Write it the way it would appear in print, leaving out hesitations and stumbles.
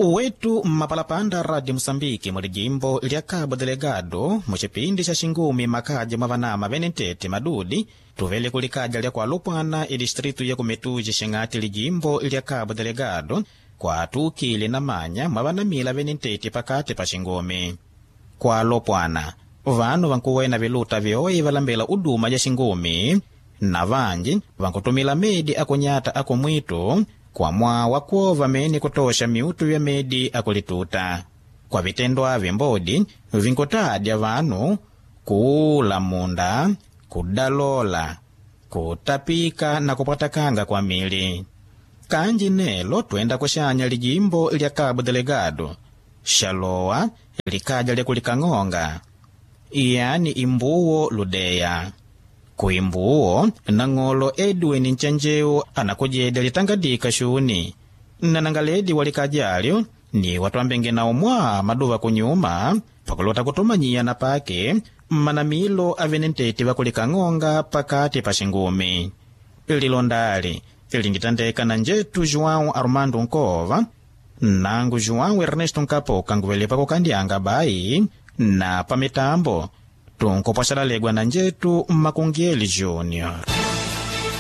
Uwetu mmapalapanda Radio Musambiki muli jimbo lya Cabo Delegado mucipindi ca xingumi makaja mwa vanama vene ntete madudi tuvele kulikaja lya kualupwana idistritu ya kumetuji xing'ati lijimbo lya Cabo Delegado kwatukile na manya mwa vanamila vene ntete pakati pa xingumi. Kualopwana vanu vankuwena viluta vyoe valambela uduma ja xingumi na vanji vankutumila medi akunyata akumwitu kwa mwawa kwova mene kutosha miutu ya medi akulituta. Kwa vitendo avi mbodi vinkutadya vanu kuula munda, kudalola, kutapika na kupwatakanga kwa mili. Kanji nelo twenda kuxanya lijimbo lya Cabo Delegado xalowa likaja lya kulikang'onga yani imbuwo ludeya. Kuimbuwo nang'olo Edwin Nchenjeu anakujedya litangadika xuni nanangaledi walikajalyo ni watwambenge nawo mwa maduva kunyuma pakulota kutumanyiya na pake mmanamilo avene ntete vakulikang'onga pakati pa xingumi. Lilondali linditandeka na njetu João Armando Nkova nangu João Ernesto Nkapoka nguvele pakukandyanga bayi na pamitambo tunkupwasalalegwa na njetu Makungieli Junior.